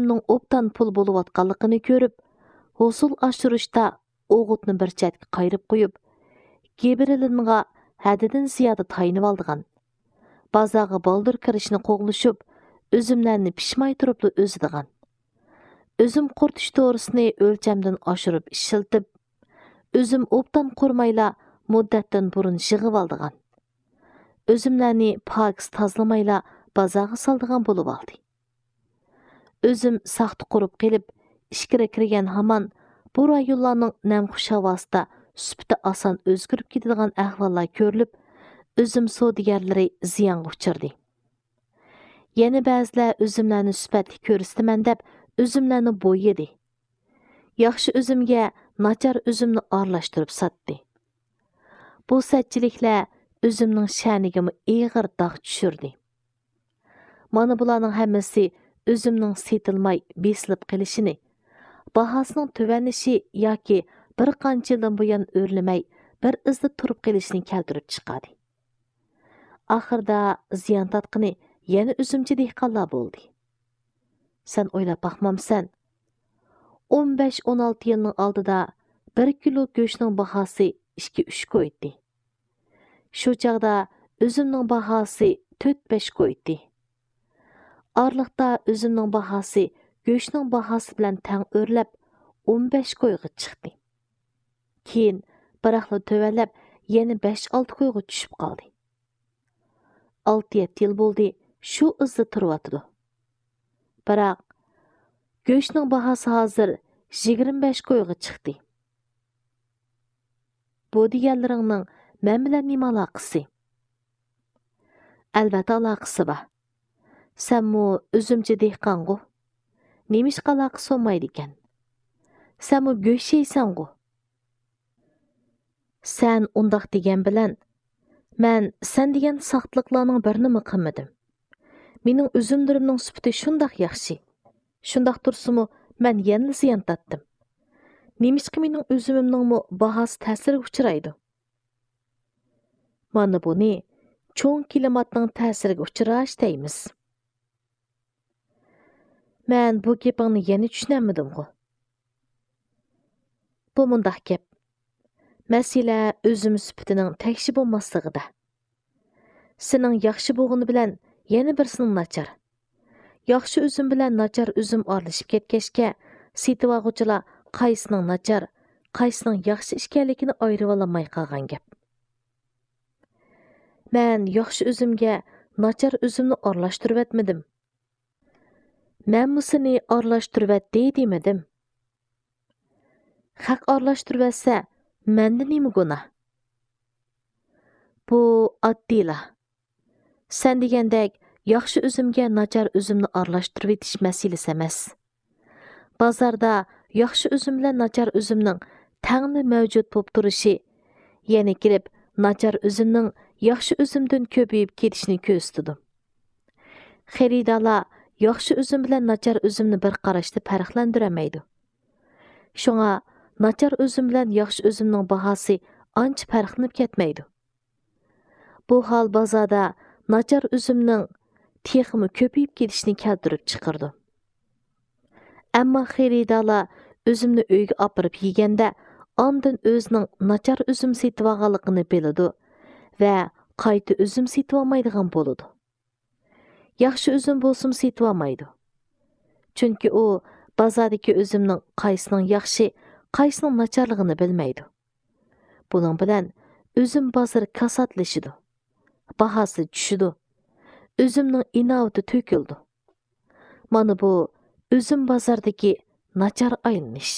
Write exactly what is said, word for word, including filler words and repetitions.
ئۇنىڭ ئوبدان پۇل بولۇۋاتقانلىقىنى كۆرۈپ، ھوسۇل ئاشۇرۇشتا ئوغۇتنى بىر چەتكە قايرىپ قويۇپ، گىبرېلىنغا ھەددىدىن زىيادە تايىنىۋالىدىغان. بازارغا بالدۇر كىرىشنى قوغلىشىپ، ئۈزۈملەرنى پىشماي تۇرۇپلا ئۈزىدىغان. ئۈزۈم قۇرۇتۇش دورىسىنى ئۆلچەمدىن ئاشۇرۇپ ئىشلىتىپ، ئۈزۈم ئوبدان قۇرۇمايلا مۇددەتتىن بۇرۇن يىغىۋالىدىغان. ئۈزۈملەرنى پاكىز تازىلىمايلا بازارغا سالىدىغان بولۇۋالدى. ئۈزۈم ساختا قۇرۇپ قېلىپ، ئىچكىرى كىرگەن ھامان بۇ رايونلارنىڭ نەمخۇش ھاۋاسىدا سۈپىتى ئاسان ئۆزگىرىپ كېتىدىغان ئەھۋاللار كۆرۈلۈپ، ئۈزۈم سودىگەرلىرى زىيانغا ئۇچرىدى. يەنە بەزىلەر ئۈزۈملەرنى سۈپەتلىك كۆرسىتىمەن دەپ، ئۈزۈملەرنى بويىدى. ياخشى ئۈزۈمگە ناچار ئۈزۈمنى ئارىلاشتۇرۇپ ساتتى. بۇ سەتچىلىكلەر ئۈزۈمنىڭ شەنىگىمۇ ئېغىر داغ چۈشۈردى. مانا بۇلارنىڭ ھەممىسى ئۈزۈمنىڭ سېتىلماي بېسىلىپ قېلىشىنى، باھاسىنىڭ تۆۋەنلىشى ياكى بىر قانچە يىلدىن بۇيان ئۆرلىمەي بىر ئىزدا تۇرۇپ قېلىشىنى كەلتۈرۈپ چىقاردى. ئاخىرىدا زىيان تارتقىنى يەنە ئۈزۈمچى دېھقانلار بولدى. سەن ئويلاپ باقمامسەن؟ ئون بەش، ئون ئالتە يىلنىڭ ئالدىدا بىر كىلو گۆشنىڭ باھاسى ئىككى، ئۈچ كوي ئىدى. شۇ چاغدا ئۈزۈمنىڭ باھاسى تۆت، بەش كوي ئىدى. ئارىلىقتا ئۈزۈمنىڭ باھاسى گۆشنىڭ باھاسى بىلەن تەڭ ئۆرلەپ، ئون بەش كويغا چىقتى. كېيىن بىراقلا تۆۋەنلەپ، يەنە بەش، ئالتە كويغا چۈشۈپ قالدى. ئالتە، يەتتە يىل بولدى، شۇ ئىزدا تۇرۇۋاتىدۇ. بىراق، گۆشنىڭ باھاسى ھازىر يىگىرمە بەش كويغا چىقتى. بۇ دېگەنلىرىڭنىڭ مەن بىلەن نېمە ئالاقىسى؟ ئەلۋەتتە ئالاقىسى بار. سەنمۇ ئۈزۈمچى دېھقانغۇ؟ نېمىشقا ئالاقىسى بولمايدىكەن؟ سەنمۇ گۆش يەيسەنغۇ؟ سەن ئۇنداق دېگەن بىلەن، مەن سەن دېگەن ساختىلىقلارنىڭ بىرىنىمۇ قىلمىدىم. مېنىڭ ئۈزۈملىرىمنىڭ سۈپىتى شۇنداق ياخشى. شۇنداق تۇرسىمۇ، مەن يەنىلا زىيان تارتتىم. نېمىشقا مېنىڭ ئۈزۈمۈمنىڭمۇ باھاسى تەسىرگە ئۇچرايدۇ؟ مانا بۇنى چوڭ كىلىماتنىڭ تەسىرىگە ئۇچراش دەيمىز. مەن بۇ گېپىڭنى يەنە چۈشىنەلمىدىمغۇ؟ بۇ مۇنداق گەپ. مەسىلە ئۈزۈم سۈپىتىنىڭ تەكشى بولماسلىقىدا. سېنىڭ ياخشى بولغىنى بىلەن يەنە بىرسىنىڭ ناچار. ياخشى ئۈزۈم بىلەن ناچار ئۈزۈم ئارىلىشىپ كەتكەچكە، سېتىۋالغۇچىلار قايسىنىڭ ناچار، قايسىنىڭ ياخشى ئىكەنلىكىنى ئايرىۋالالماي قالغان گەپ. مەن ياخشى ئۈزۈمگە ناچار ئۈزۈمنى ئارىلاشتۇرۇۋەتمىدىم. مەنمۇ سېنى ئارىلاشتۇرۇۋەتتى دېمىدىم. خەق ئارىلاشتۇرۇۋەتسە، مەندە نېمە گۇناھ؟ بۇ ئاددىيلا. سەن دېگەندەك ياخشى ئۈزۈمگە ناچار ئۈزۈمنى ئارىلاشتۇرۇۋېتىش مەسىلىسى ئەمەس. بازاردا ياخشى ئۈزۈم بىلەن ناچار ئۈزۈمنىڭ تەڭلا مەۋجۇت بولۇپ تۇرۇشى، يەنە كېلىپ ناچار ئۈزۈمنىڭ ياخشى ئۈزۈمدىن كۆپىيىپ كېتىشىنى كۆرسىتىدۇ. خېرىدارلار ياخشى ئۈزۈم بىلەن ناچار ئۈزۈمنى بىر قاراشتا پەرقلەندۈرەلمەيدۇ. شۇڭا ناچار ئۈزۈم بىلەن ياخشى ئۈزۈمنىڭ باھاسى ئانچە پەرقلىنىپ كەتمەيدۇ. بۇ ھال بازاردا ناچار ئۈزۈمنىڭ تېخىمۇ كۆپىيىپ كېتىشىنى كەلتۈرۈپ چىقىرىدۇ. ئەمما خېرىدارلار ئۈزۈمنى ئۆيگە ئاپىرىپ يېگەندە، ئاندىن ئۆزىنىڭ ناچار ئۈزۈم سېتىۋالغانلىقىنى بىلىدۇ ۋە قايتا ئۈزۈم سېتىۋالمايدىغان بولىدۇ. ياخشى ئۈزۈم بولسىمۇ سېتىۋالمايدۇ. چۈنكى ئۇ بازاردىكى ئۈزۈمنىڭ قايسىنىڭ ياخشى، قايسىنىڭ ناچارلىقىنى بىلمەيدۇ. بۇنىڭ بىلەن ئۈزۈم بازىرى كاساتلىشىدۇ، باھاسى چۈشىدۇ، ئۈزۈمنىڭ ئىناۋىتى تۆكۈلىدۇ. مانا بۇ ئۈزۈم بازاردىكى ناچار ئايلىنىش.